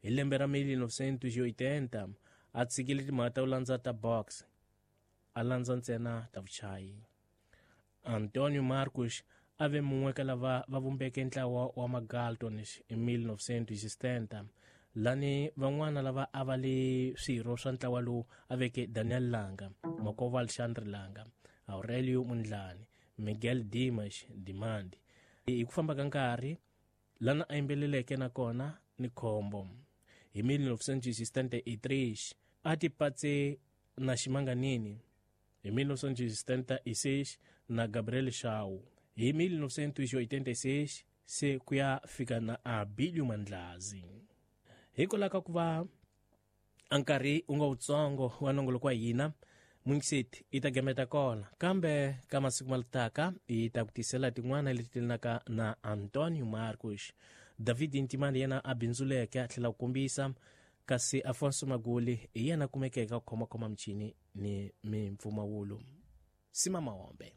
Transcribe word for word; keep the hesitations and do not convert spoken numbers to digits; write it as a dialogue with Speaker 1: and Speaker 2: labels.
Speaker 1: Hi lembe ra mille novecentos e oitenta a tshikile timhaka ta ku landza ta box, a landza ntsena ta vuchayi. Antonio Marcos a ve mun'we ka lava va vumbeke ntlawa wa Magaltons hi mille novecentos e setenta, lani van'wana lava a va li swirho swa ntlawa lowu a veke Daniel Langa, Makova Alexandre Langa, Aurelio Mundlani, Miguel Dimas Dimandi. Hi ku famba ka nkarhi lana a yimbeleleke na kona ni khombo. Hi mille novecentos e setenta e três a ti patse na Ximanganini, hi mille novecentos e setenta e seis na Gabriel Shaw, hi mille novecentos e oitenta e seis se ku ya fika na Abilio Mandlazi. Hikwalaho ka ku va a nkarhi wu nga wutsongo wa nongoloko wa hina, Mungiseti yi ta gameta kona, kambe ka masiku ma taka yi ta ku tisela tin'wana leti telanaka na Antonio Marcos. David Ntimani yena a bindzuleke a tlhela ku kombisa, kasi Afonso Maguli hi yena kumekeke ku khomakhoma michini ni mimpfumawulo. Sima Mahombe.